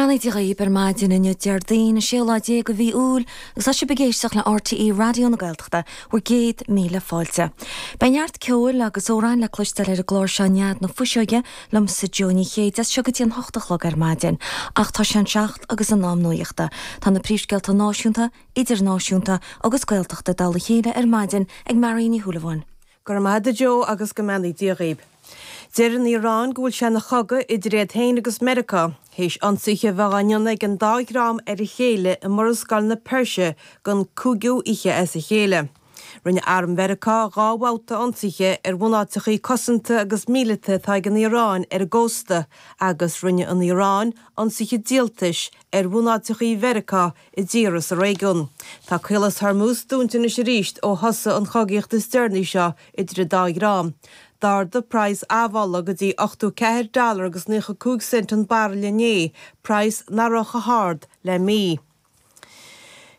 mbeannaí Dé dhaoib ar maidin inniu Déardaoin, an séú lá déag de mhí Iúil agus tá sibh ag éisteacht le RTÉ Raidió na Gaeltachta, bhur gcéad míle fáilte. Beidh neart ceoil agus amhráin le cloisteáil ar an gclár seo Nead na Fuiseoige liomsa Jó Ní Chéide as seo go dtí an hocht a chlog ar maidin. Ach tá sé an seacht agus in am nuachta. Tá na príomhscéalta náisiúnta, idirnáisiúnta agus Gaeltachta i dtoll a chéile ar maidin ag Marion Ní Shúilleabháin. Go raibh maith agat a Joe agus go mbeannaí Dia dhaoib. Deir an Iaráin go bhfuil sé ina chogadh idir iad féin agus Meiriceá, théis ionsaithe a bheith á ndéanamh ag an dá dhream ar a chéile i Murascaill na Peirse don cúigiú oíche as a chéile. Rinne arm Mheiriceá dhá bhabhta ionsaithe ar bhunáiteachaí cosanta agus míleata atá ag an Iaráin ar an gcósta agus rinne an Iaráin ionsaithe díoltais ar bhunáiteachaí Mheiriceá i dtíortha sa réigiún. Tá Caolas Hormuz dúnta anois arís ó thosaigh an chogaíocht is deireanaí seo idir an dá dhream. D'ardaigh praghas amhola go dtí 84 dollar agus 95 cent an bairille inné, praghas nach raibh chomh hard le mí.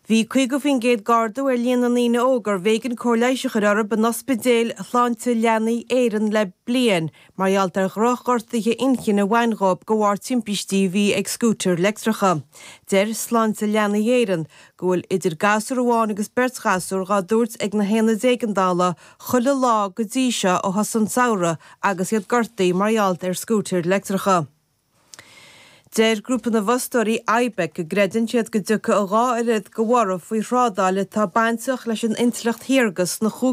Bhí 50% d'ardú ar líon na ndaoine óga arbh éigean cóir leighis a chur orthu in ospidéil Shláinte Leanaí Éireann le bliain mar gheall ar dhroch-ghortuithe inchinne a bhain dhóibh de bharr timpistí a bhí ag scútair leictreacha. Deir Sláinte Leanaí Éireann go bhfuil idir gasúr amháin agus beirt ghasúr dhá dtabhairt ag na haonaid éigeandála chuile lá go dtí seo ó thosaigh an samhradh agus iad gortaithe mar gheall ar scútair leictreacha. Deir grúpa na bhfostóirí, IBEC, go gcreideann siad go dtiocfaidh a dhá oiread de bhorradh faoi thrádáil atá bainteach leis an intleacht shaorga sna.